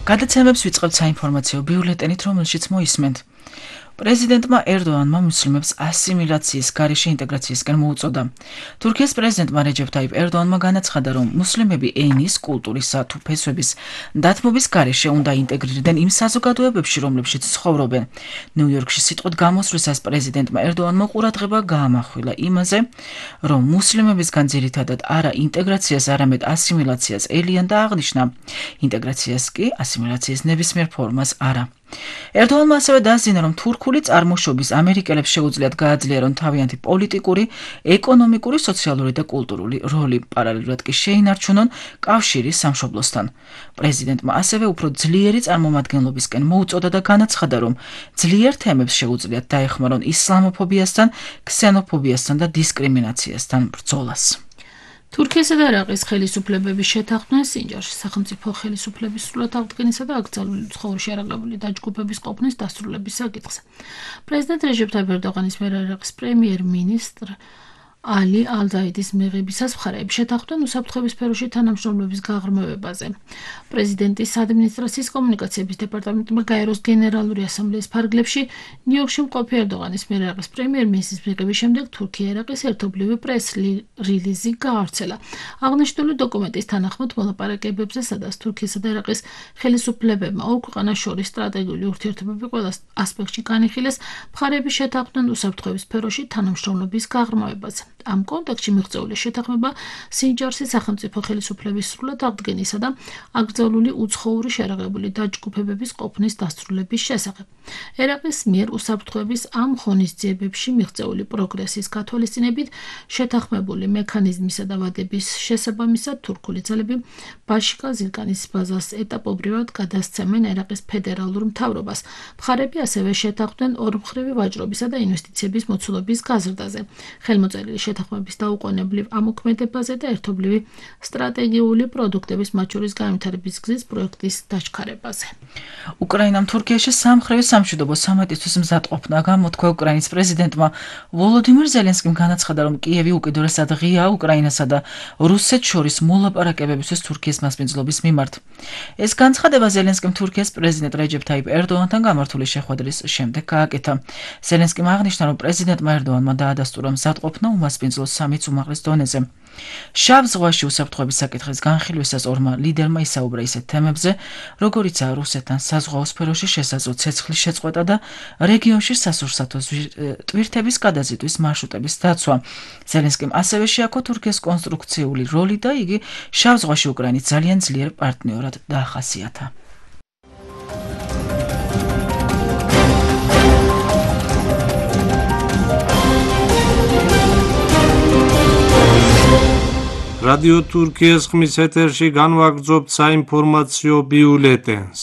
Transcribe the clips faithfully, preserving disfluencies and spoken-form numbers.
გადაცემებს ვიწყებთ საინფორმაციო ბიულეტენით, რომელშიც მოისმენთ. პრეზიდენტმა ერდოანმა მუსლიმებს ასიმილაციის გარეშე ინტეგრაციისკენ მოუწოდა. თურქეთის პრეზიდენტმა რეჯეფ ტაიპ ერდოანმა განაცხადა, რომ მუსლიმები ენის, კულტურისა თუ ფესვების დათმობის გარეშე უნდა ინტეგრირდნენ იმ საზოგადოებებში, რომლებშიც ცხოვრობენ. ნიუ-იორკში სიტყვით გამოსვლისას პრეზიდენტმა ერდოანმა ყურადღება გაამახვილა იმაზე, რომ მუსლიმებისგან ძირითადად არა ინტეგრაციას, არამედ ასიმილაციას ელიან და აღნიშნა, ინტეგრაციას კი ასიმილაციის ნებისმიერ ფორმას არა. ერდოანმა ასევე დაასძინა, რომ თურქული წარმოშობის ამერიკელებს შეუძლიათ გააძლიერონ თავიანთი პოლიტიკური, ეკონომიკური, სოციალური და კულტურული როლი, პარალელურად კი შეინარჩუნონ კავშირი სამშობლოსთან. პრეზიდენტმა ასევე უფრო ძლიერი წარმომადგენლობისკენ მოუწოდა და განაცხადა, რომ ძლიერ თემებს შეუძლიათ დაეხმარონ ისლამოფობიასთან, ქსენოფობიასთან და დისკრიმინაციასთან ბრძოლას. თურქიასა და ერაყის ხელისუფლებების შეთანხმდნენ სინჯარში სახელმწიფო ხელისუფლების სრულად აღდგენისა და აკრძალული ცხოვრებაში არაღლებული დაჯგუფების ყოფნის დასრულების საკითხზე. პრეზიდენტ რეჯეფ ტაიპ ერდოღანის მიერ ერაყის პრემიერ-მინისტრ ალი ალ-ზაიდის მიღებისას მხარეები შეთანხმდნენ უსაფრთხოების სფეროში თანამშრომლობის გაღრმავებაზე. პრეზიდენტის ადმინისტრაციის კომუნიკაციების დეპარტამენტმა გაეროს გენერალური ასამბლეის ფარგლებში ნიუ-იორკში მყოფი ერდოღანის მიერ ერაყის პრემიერ-მინისტრის მიღების შემდეგ თურქია-ერაყის ერთობლივი პრეს-რილიზი გაავრცელა. აღნიშნული დოკუმენტის თანახმად მოლაპარაკებებზე, სადაც თურქიასა და ერაყის ხელისუფლებებმა ორ ქვეყანას შორის სტრატეგიული ურთიერთობები ყველა ასპექტში განიხილეს, მხარეები შეთანხმდნენ უსაფრთხოების სფეროში თანამშრომლობის გაღრმავებაზე. ამ კონტექსტში მიღწეული შეთანხმება სინჯარსის სახელმწიფო ხელისუფლების სრულად აღდგენისა და აკრძალული უცხოური შეერაღებული დაჯგუფებების ყოფნის დასრულების შესახებ. ერაყის მიერ უსაფრთხოების ამ ღონისძიებებში მიღწეული პროგრესის გათვალისწინებით შეთანხმებული მექანიზმისა და ვადების შესაბამისად თურქული ძალები ბაშიკა ზირკანის ბაზას ეტაპობრივად გადასცემენ ერაყის ფედერალურ მთავრობას. მხარეები ასევე შეთანხმდნენ ორმხრივი ვაჭრობისა და ინვესტიციების მოცულობის გაზრდაზე. ხელმოწერილი შეთანხმების დაუყოვნებლივ ამოქმედებაზე და ერთობლივი სტრატეგიული პროდუქტების, მათ შორის განვითარების გზის პროექტის დაჩქარებაზე. უკრაინამ თურქიაში სამმხრივი სამშვიდობო სამეტისთვის მზადყოფნა გამოთქვა. უკრაინის პრეზიდენტმა ვოლოდიმირ ზელენსკიმ განაცხადა, რომ კიევი უკიდურესად ღია უკრაინასა და რუსეთს შორის მოლაპარაკებებისთვის თურქიის მასპინძლობის მიმართ. ეს განცხადება ზელენსკიმ თურქიის პრეზიდენტ რეჯეფ ტაიპ ერდოანთან გამართული შეხვედრის შემდეგ გააკეთა. ზელენსკიმ აღნიშნა, რომ პრეზიდენტმა ერდოანმა დაადასტურა მზადყოფნა უმასპინძლო სამიც უმაღლეს დონეზე. შავ ზღვაში უსაფრთხოების საკითხის განხილვისას ორმა ლიდერმა ისაუბრა ისეთ თემებზე, როგორიცაა რუსეთთან საზღვაო სფეროში შესაძლო ცეცხლის შეწყვეტა და რეგიონში სასურსათო ტვირთების გადაზიდვის მარშრუტების დაცვა. ზელენსკიმ ასევე შეაქო თურქიის კონსტრუქციული როლი და იგი შავ ზღვაში უკრაინის ძალიან ძლიერ პარტნიორად დაახასიათა. რადიო თურქიის ხმის ეთერში განვაგრძობთ საინფორმაციო ბიულეტენს.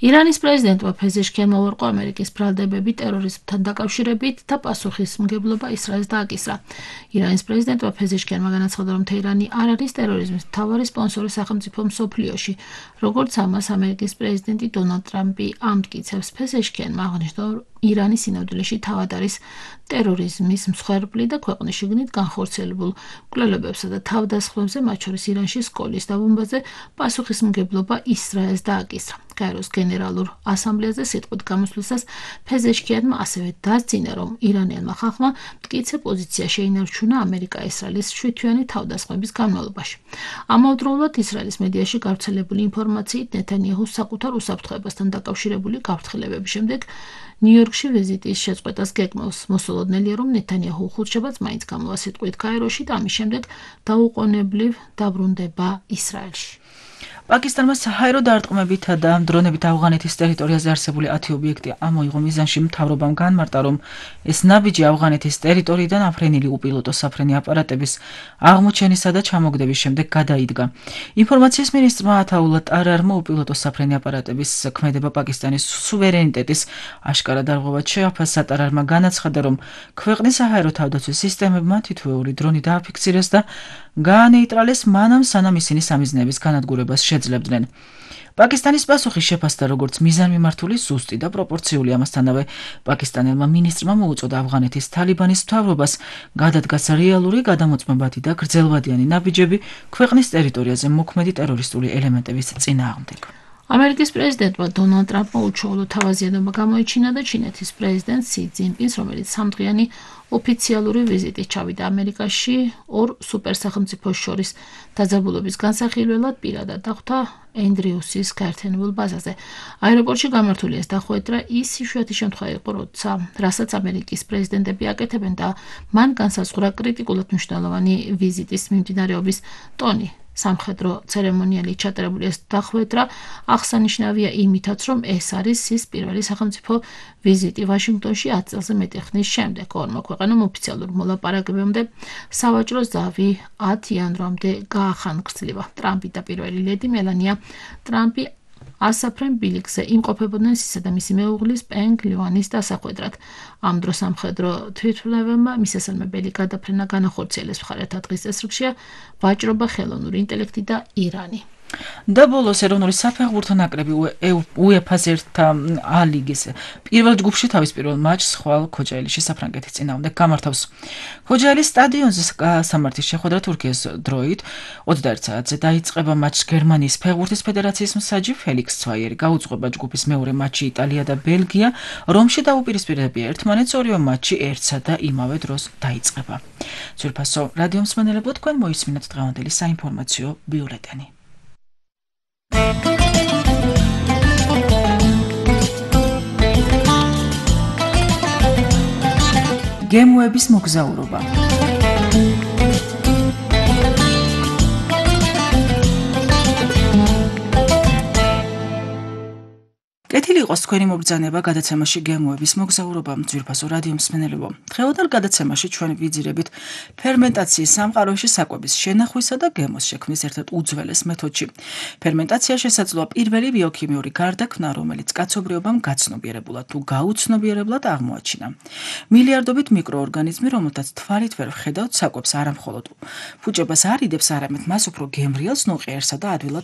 ირანის პრეზიდენტმა ფეზეშქიანმა უარყო ამერიკის ბრალდებები ტერორიზმთან დაკავშირებით და პასუხისმგებლობა ისრაელს დააკისრა. ირანის პრეზიდენტმა ფეზეშქიანმა განაცხადა, რომ თეირანი არ არის ტერორიზმის მთავარი სპონსორი სახელმწიფო მსოფლიოში, როგორც ამას ამერიკის პრეზიდენტი დონალდ ტრამპი ამტკიცებს. ფეზეშქიანმა აღნიშნა, რომ ირანი სინამდვილეში თავად არის ტერორიზმის მსხვერპლი და ქვეყნის შიგნით განხორციელებულ კვლევებსა და თავდასხმებზე, მათ შორის ირანში სკოლის დაბომბაზე პასუხისმგებლობა ისრაელს დააკისრა. გაეროს გენერალურ ასამბლეაზე სიტყვით გამოსვლისას ფეზეშქიანმა ასევე დასძინა, რომ ირანელმა ხალხმა მტკიცე პოზიცია შეინარჩუნა ამერიკა-ისრაელის შვიდთვიანი თავდასხმების განმავლობაში. ამავდროულად ისრაელის მედიაში გავრცელებული ინფორმაციით ნეთანიაჰუს საკუთარ უსაფრთხოებასთან დაკავშირებული გაფრთხილებების შემდეგ ნიუ-იორკში ვიზიტის შეწყვეტას გეგმავს. მოსულოდნელია, რომ ნეთანიაჰუ ხუთშაბათს მაინც გამოვა სიტყვით გაეროში და ამის შემდეგ დაუყოვნებლივ დაბრუნდება ისრაელში. პაკისტანმა საჰაერო დარტყმებითა და დრონებით ავღანეთის ტერიტორიაზე არსებული ათი ობიექტი ამოიღო. მიზანში მთავრობამ განმარტა, რომ ეს ნაბიჯი ავღანეთის ტერიტორიიდან აფრენილი უპილოტო საფრენი აპარატების აღმოჩენისა და ჩამოგდების შემდეგ გადაიდგა. ინფორმაციის მინისტრმა ათაულა ტარარმა უპილოტო საფრენი აპარატების ქმედება პაკისტანის სუვერენიტეტის აშკარა დარღვევად შეაფასა. ტარარმა განაცხადა, რომ ქვეყნის საჰაერო თავდაცვის სისტემებმა თითოეული დრონი დააფიქსირეს და გაანეიტრალეს მანამ, სანამ ისინი სამიზნეების განადგურებას შეძლებდნენ. პაკისტანის პასუხი შეფასდა როგორც მიზანმიმართული, ზუსტი და პროპორციული. ამასთანავე პაკისტანელმა მინისტრმა მოუწოდა ავღანეთის თალიბანის მთავრობას გადადგას რეალური, გადამოწმებადი და გრძელვადიანი ნაბიჯები ქვეყნის ტერიტორიაზე მოქმედი ტერორისტული ელემენტების წინააღმდეგ. ამერიკის პრეზიდენტმა დონალდ ტრამპმა უჩვეულო თავაზიანობა გამოიჩინა და ჩინეთის პრეზიდენტ სი ძინპინს, რომელიც სამდღიანი ოფიციალური ვიზიტით ჩავიდა ამერიკაში, ორ სუპერსახელმწიფოს შორის დაძაბულობის განსახილველად პირადად დახვდა ენდრიუსის გაერთიანებულ ბაზაზე. აეროპორტში გამართული ეს დახვედრა ის იშვიათი შემთხვევა იყო, როცა რასაც ამერიკის პრეზიდენტები აკეთებენ და მან განსაზღვრა კრიტიკულად მნიშვნელოვანი ვიზიტის მიმდინარეობის ტონი. სამხედრო ცერემონიალი ჩატარებული ეს დახვედრა აღსანიშნავია იმითაც, რომ ეს არის ის პირველი სახელმწიფო ვიზიტი ვაშინგტონში ათ წელზე მეტი ხნის შემდეგ. ორმა ქვეყანამ ოფიციალურ მოლაპარაკებამდე სავაჭრო ზავი ათ იანვრამდე გაახანგრძლივა. ტრამპი და პირველი ლედი მელანია ტრამპი ასაფრენ ბილიკზე იმყოფებოდნენ ისისა და მისი მეუღლის პენგ ლიუანის დასახვედრად. ამ დროს სამხედრო თვითმფრინავებმა მისასალმებელი გადაფრენა განახორციელეს. მხარეთა დღის წესრიგშია ვაჭრობა, ხელოვნური ინტელექტი და ირანი. და ბოლოს ეროვნული საფეხბურთო ნაკრები უეფა-ს ერთა ა ლიგის პირველ ჯგუფში თავის პირველ მატჩს ხვალ ქოჯაელიში საფრანგეთის წინააღმდეგ გამართავს. ქოჯაელის სტადიონზე სამართლის შეხვედრა თურქიის დროით ოცდაერთ საათზე დაიწყება. მატჩს გერმანიის ფეხბურთის ფედერაციის მსაჯი ფელიქს ცვაიერი გაუძღვება. ჯგუფის მეორე მატჩი იტალია და ბელგია რომში დაუპირისპირდებიან ერთმანეთს. ორივე მატჩი ერთსა და იმავე დროს დაიწყება. ძვირფასო რადიო მსმენელებო, თქვენ მოისმინეთ დღევანდელი საინფორმაციო ბიულეტენი. გემოების მოგზაურობა. კეთილი იყოს თქვენი მობრძანება გადაცემაში გემოების მოგზაურობა. ძვირფასო რადიო მსმენელებო, დღევანდელ გადაცემაში ჩვენ ვიძირებით ფერმენტაციის სამყაროში საკვების შენახვისა და გემოს შექმნის ერთ-ერთ უძველეს მეთოდში. ფერმენტაცია შესაძლოა პირველი ბიოქიმიური გარდაქმნა, რომელიც კაცობრიობამ გაცნობიერებულად თუ გაუცნობიერებლად აღმოაჩინა. მილიარდობით მიკროორგანიზმი, რომელთაც თვალით ვერ ვხედავთ, საკვებს არა მხოლოდ ფუჭებას არ იდებს, არამედ მას უფრო გემრიელს, ნოყიერსა და ადვილად